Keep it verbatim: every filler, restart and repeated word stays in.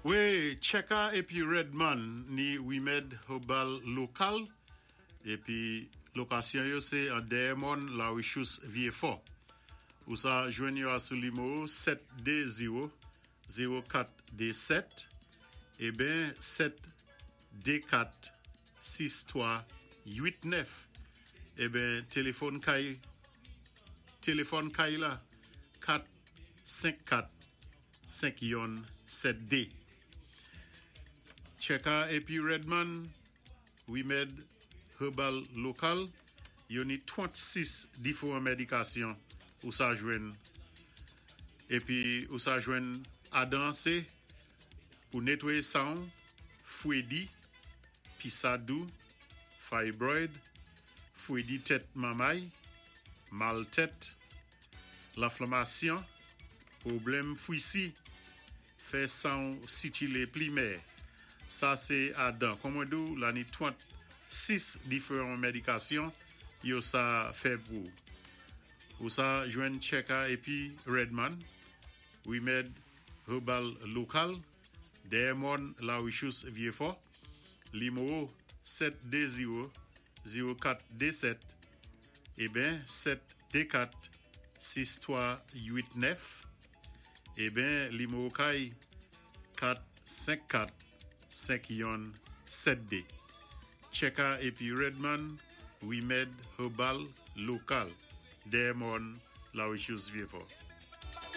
Wi, Cheka épi Redman ni Wimèd Herbal Lokal épi lokasyon yo sé an dèyè mòn La Richous Vyéfò. Ou sa jwenn yo a sou nimewo sèt dé zewo zewo kat dé sèt eben sèt dé kat sis twa uit nèf. Eben téléfòn kay téléfòn kay la kat senk kat senk youn sèt dé. Cheka épi Redman, Wimèd Herbal Lokal, yo ni trannsis diféwan médikasyon ou sa jwenn. Épi ou sa jwenn adan sé pou nétwayé san, fwédi, pisadou, fibroid, fwédi tèt manmay, mal tèt, lanflamasyon, pwoblèm fwisi, fè san sikilé pli mè. Sa sé adan. Kon mwen di ou, la ni trannsis diféwan médikasyon yo sa fè pou. Ou sa jwenn Cheka épi Redman, Wimèd Herbal Lokal, dèyè mòn La Richous Vyéfò, nimewo sèt dé zewo zewo kat dé sèt eben sèt dé kat sis twa uit nèf eben nimewo kay kat senk kat senk youn sèt dé. Cheka épi Redman, Wimèd Herbal Lokal, dèyè mòn La Richous Vyéfò.